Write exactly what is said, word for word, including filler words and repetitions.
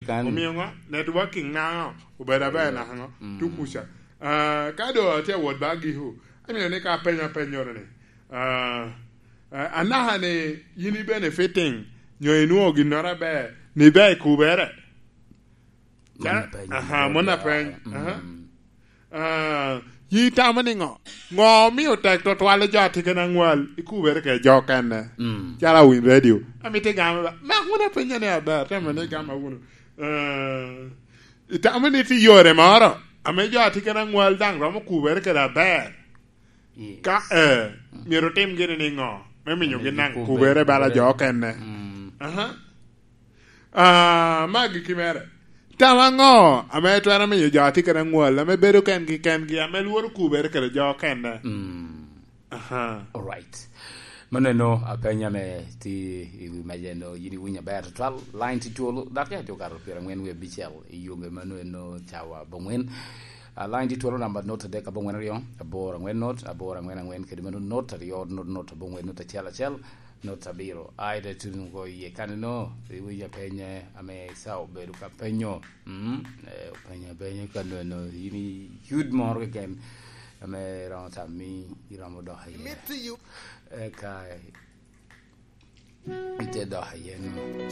Kan- Omio ŋo? Networking naŋo? Obedo aber naŋo? Mm. Tukuca. Ah, ka do atye awot ba giko, amio ni ka apenyo apenyoro ni, ah, ah, anaka ni yin i benefiting, nyo inwoŋo ginnoro aber, ni ber i kubere? Mon apeny. Aha, mon apeny. Mm. Aha. Ah, yi tamo ni ŋo? Ŋo omio tek twatwal i jo a tye kene aŋwal i kubere kede jo okene? Mm. Calo awiny radio. Amito igama ba. Mak wun apenya ni aber, tamo ni igama wunu. Ah, itamo ni tye yore moro ame jo a tye kene aŋwal daŋ romo kubere kede aber? Yes. Ka, eh, myero otim gini ni ŋo? Me miyo gin daŋ kubere bala jo okene. Mm. Aha. Ah, ma agikki mere. Tam aŋo ame twero miyo jo a tye kede aŋwal, ame bedo kengi kengi, ame lworo kubere kede jo okene? Mm. Aha. Alright. Maneno apenya me ti i wi meja eno, yin iwinyo aber tutwal, line ti twolo, dakika tye okato pyerangwen wie abicel i yombe mano eno cawa abongwen. Ah, line ti twolo namba not adek abongwen aryo, aboro angwen not, aboro angwen angwen, kede mano not aryo, not, not abongwen, not acel acel. Not abiro. Ai, te tuno ko iye kaneno, iwinyo apenye ame Esau obedo ka penyo. Mm, eh, openyo apenyo kaneno, in i yud moro keken ame romo tammi iromo dok iye. Eka ite dok iye no.